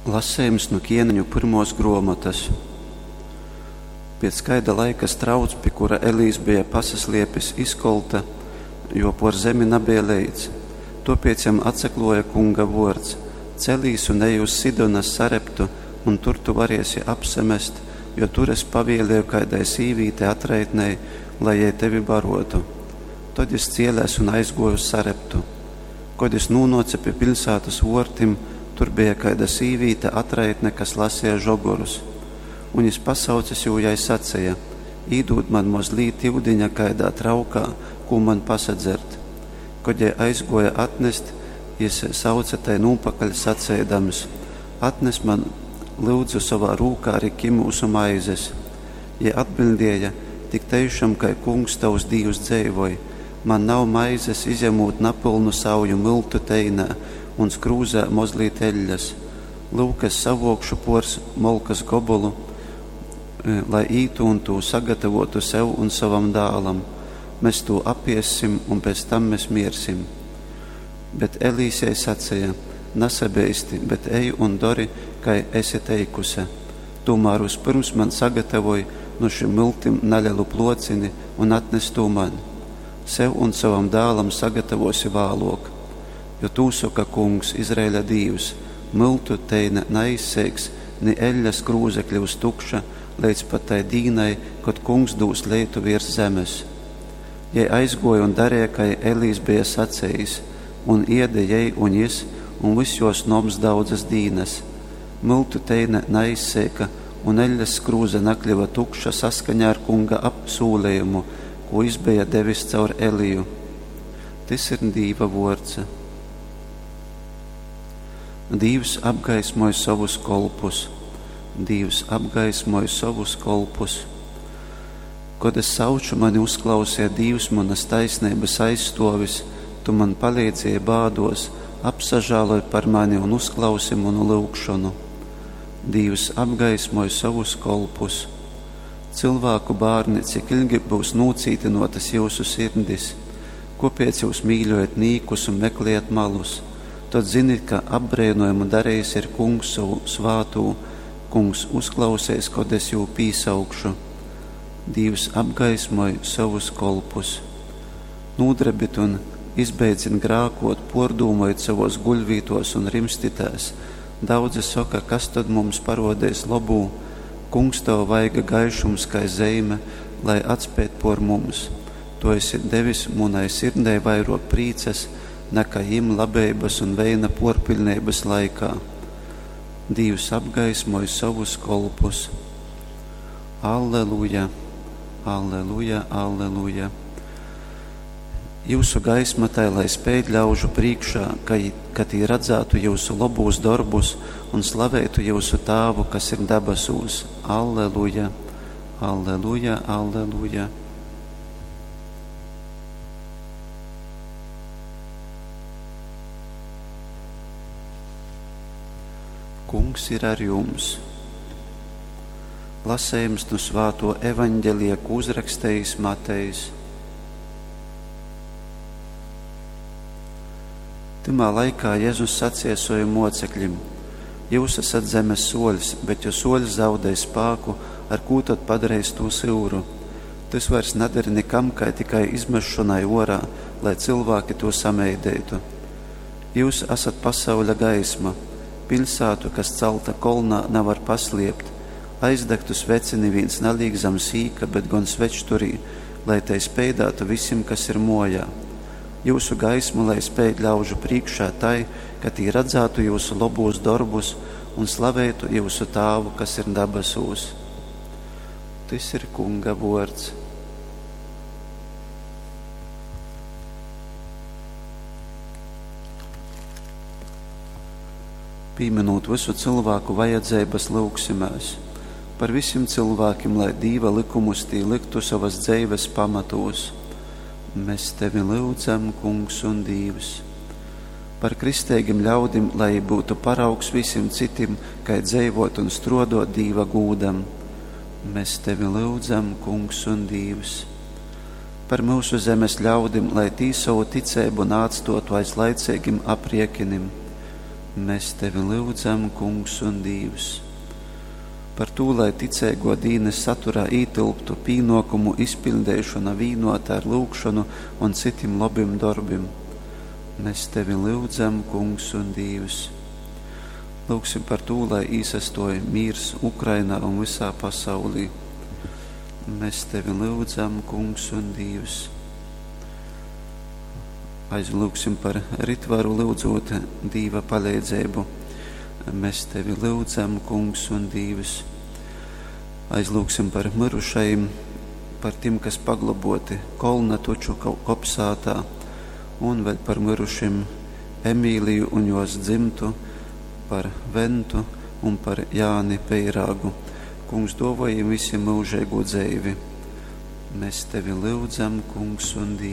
Lasejums nu Kieneņu pyrmuos gruomotys. Piec kaida laika strauts, pi kura Elijs beja pasasliepis, izkolta, jo puor zemi nabeja leits. Tuopiec jam atsakluoja Kunga vuords: Celīs un ej uz Sidonas Sareptu, un tur tu variesi apsamest, jo tur es pavielieju kaidai sīvītei atraitnei, lai jei tevi baruotu. Tod jis cielēs un aizguoja uz Sareptu. Kod jis nūnuoce pi piļsātys vuortim, tur beja kaida sīvīte atraitne, kas laseja žogorus. Un jis pasaucis jū jai saceja: Īdūd man mozlīt iudiņa kaidā traukā, kū man pasadzert. Kod jei aizguoja atnest, jis sauce tai nūpakaļ saceidams: Atnes man, lyudzu, sovā rūkā ari kimūsu maizes. Jei atbiļdēja: Tik teišam, kai Kungs tovs Dīvs dzeivoj, man nav maizes, izjamūt napylnu sauju myltu teinē un skrūzē mozlīt eļļas. Lyuk, es savuokšu puors molkas gobolu, lai ītu un tū sagatavotu sev un sovam dālam. Mes tū apiessim, un pēc tam mes miersim. Bet Elijs jai saceja: Nasabeisti, bet ej un dori, kai esi teikuse. Tūmār vyspyrms man sagatavoj nu šim myltim nalelu pluocini un atnes tū man. Sev un sovam dālam sagatavosi vāluok. Jo tū soka Kungs, Izraeļa Dīvs, Myltu teine naizseiks, ni eļļas krūze kļyus tukša, leidz pat tai dīnai, kod Kungs dūs leitu viers zemes. Jei aizguoja un dareja, kai Elijs beja sacejis, un iede jei un jis, un vyss juos noms daudzas dīnas. Myltu teine naizseika, un eļļas skrūze nakļyva tukša saskaņā ar Kunga apsūlejumu, kū jis beja devis caur Eliju. Tys ir Dīva vuords. Dīvs apgaismoj sovus kolpus. Dīvs apgaismoj sovus kolpus. Kod es sauču, mani uzklauseja Dīvs, munas taisneibas aizstuovis, tu man paleidzēji bāduos, apsažāloj par mani un uzklausi munu lyugšonu. Dīvs apgaismoj sovus kolpus. Cylvāku bārni, cik ilgi byus nūcītynuotas jyusu sirdis? Kuopiec jyus mīļojat nīkus un meklejat malus? Tod zinit, ka apbreinojamu darejis ir Kungs sovu svātū, Kungs uzklauseis, kod es jū pīsaukšu. Dīvs apgaismoj sovus kolpus. Nūdrebit un izbeidzit grākuot, puordūmojit sovuos guļvītuos un rimstitēs. Daudzi soka, kas tod mums paruodeis lobū? Kungs, tova vaiga gaišums kai zeime, lai atspeid puor mums. Tu esi devis munai sirdei vairuok prīcas, nakai jim labeibas un veina puorpiļneibas laikā. Dīvs apgaismoj sovus kolpus. Alleluja, alleluja, alleluja. Jyusu gaisma tai lai speid ļaužu prīškā, ka, ka tī radzātu jyusu lobūs dorbus un slaveitu jyusu Tāvu, kas ir dabasūs. Alleluja, alleluja, alleluja. Kungs ir ar jums! Lasejums nu svātuo Evaņgelija, kū uzrakstejis Matejs. Tymā laikā Jezus saceja sovim muocekļim: Jyus asat zemes suoļs, bet jo suoļs zaudej spāku, ar kū tod padareis tū syuru? Tys vairs nader nikam, kai tikai izmesšonai uorā, lai cylvāki tū sameideitu. Jyus asat pasauļa gaisma. Piļsātu, kas calta kolnā, navar pasliept. Aizdagtu sveci nivīns nalīk zam sīka, bet gon svečturī, lai tei speidātu vysim, kas ir muojā. Jyusu gaisma lai speid ļaužu prīškā tai, ka tī radzātu jyusu lobūs dorbus un slaveitu jyusu Tāvu, kas ir dabasūs. Tys ir Kunga vuords. Pīminūt vysu cylvāku vajadzeibas, lyugsimēs par vysim cylvākim, lai Dīva lykumus tī lyktu sovas dzeives pamatūs. Mes tevi lyudzam, Kungs un Dīvs. Par kristeigim ļaudim, lai jī byutu paraugs vysim cytim, kai dzeivuot un struoduot Dīva gūdam. Mes tevi lyudzam, Kungs un Dīvs. Par myusu zemes ļaudim, lai tī sovu ticeibu naatstuotu aiz laiceigim apriekinim. Mēs tevi lyudzam, Kungs un Dīvs. Par tū, lai ticeiguo dīnys saturā ītylptu pīnuokumu izpiļdeišona vīnuota ar lyugšonu un cytim lobim dorbim. Mēs tevi lyudzam, Kungs un Dīvs. Lyugsim par tū, lai īsastuoj mīrs Ukrainā un vysā pasaulī. Mēs tevi lyudzam, Kungs un Dīvs. Aizlyugsim par Ritvaru, lyudzūt Dīva paleidzeibu. Mēs tevi lyudzam, Kungs un Dīvs. Aizlyugsim par myrušajim, par tim, kas pagloboti Kolnatuču kopsātā, un vēl par myrušim Emīliju un jos dzimtu, par Ventu un par Jāni Peirāgu. Kungs, duovoj jim visim myužeigu dzeivi. Mēs tevi lyudzam, Kungs un Dīvs.